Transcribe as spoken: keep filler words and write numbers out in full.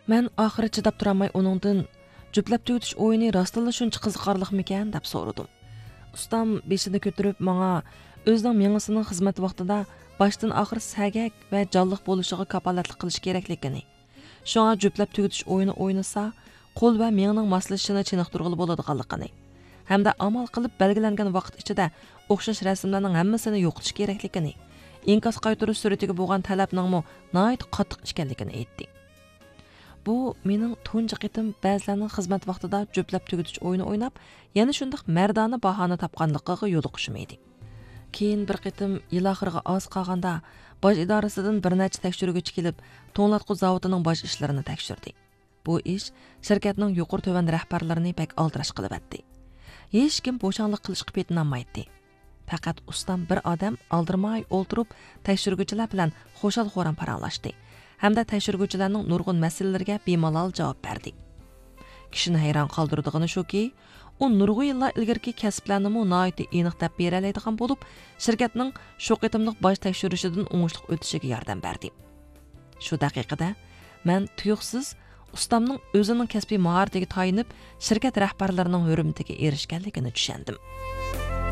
مەن ئاخىرى چىداپ تۇرالماي ئۇنىڭدىن، «جۈپلەپ تۈگىتىش ئويۇنى راستتىنلا شۇنچە قىزىقارلىقمىكەن؟» دەپ سورىدىم. ئۇستام بېشىنى كۆتۈرۈپ ماڭا ئۆزىنىڭ مېڭىسىنىڭ خىزمەت ۋاقتىدا باشتىن ئاخىر سەگەك ۋە جانلىق بولۇشىغا كاپالەتلىك قىلىش كېرەكلىكىنى، شۇڭا جۈپلەپ تۈگىتىش ئويۇنى ئوينىسا، قول ۋە مېڭىنىڭ ماسلىشىشىنى چېنىقتۇرغىلى بولىدىغانلىقىنى ھەمدە ئامال قىلىپ بەلگىلەنگەن ۋاقىت ئىچىدە ئوخشاش رەسىملەرنىڭ ھەممىسىنى يوقىتىش كېرەكلىكىنى، ئىنكاس قايتۇرۇش سۈرئىتىگە بولغان تەلەپنىڭمۇ ناھايىتى قاتتىق ئىكەنلىكىنى ئېيتتى. بۇ مېنىڭ تۇنجى قېتىم بەزىلەرنىڭ خىزمەت ۋاقتىدا جۈپلەپ تۈگىتىش ئويۇنى ئويناپ، يەنە شۇنداق مەردانە باھانە تاپقانلىقىغا يولۇقۇشۇم ئىدى. كېيىن بىر قېتىم يىل ئاخىرىغا ئاز قالغاندا، باج ئىدارىسىدىن بىر نەچچە تەكشۈرگۈچى كېلىپ، توڭلاتقۇ زاۋۇتىنىڭ باج ئىشلىرىنى تەكشۈردى. بۇ ئىش شىركەتنىڭ يۇقىرى تۆۋەن رەھبەرلىرىنى بەك ئالدىراش قىلىۋەتتى. ھېچكىم بوشاڭلىق قىلىشقا پېتىنالمايتتى. پەقەت ئۇستام بىر ئادەم ئالدىرىماي ئولتۇرۇپ، تەكشۈرگۈچىلەر بىلەن خۇشال-خۇرام پاراڭلاشتى ھەمدە تەكشۈرگۈچىلەرنىڭ نۇرغۇن مەسىلىلىرىگە بىمالال جاۋاب بەردى. كىشىنى ھەيران قالدۇرىدىغىنى شۇكى، ئۇ نۇرغۇن يىللار ئىلگىرىكى كەسىپلەرنىمۇ ناھايىتى ئېنىق دەپ بېرەلەيدىغان بولۇپ، شىركەتنىڭ شۇ قېتىملىق باج تەكشۈرۈشىدىن ئوڭۇشلۇق ئۆتۈشىگە ياردەم بەردى. شۇ دەقىقىدە مەن تۇيۇقسىز ئۇستامنىڭ ئۆزىنىڭ كەسپىي ماھارىتىگە تايىنىپ، شىركەت رەھبەرلىرىنىڭ ھۆرمىتىگە ئېرىشكەنلىكىنى چۈشەندىم.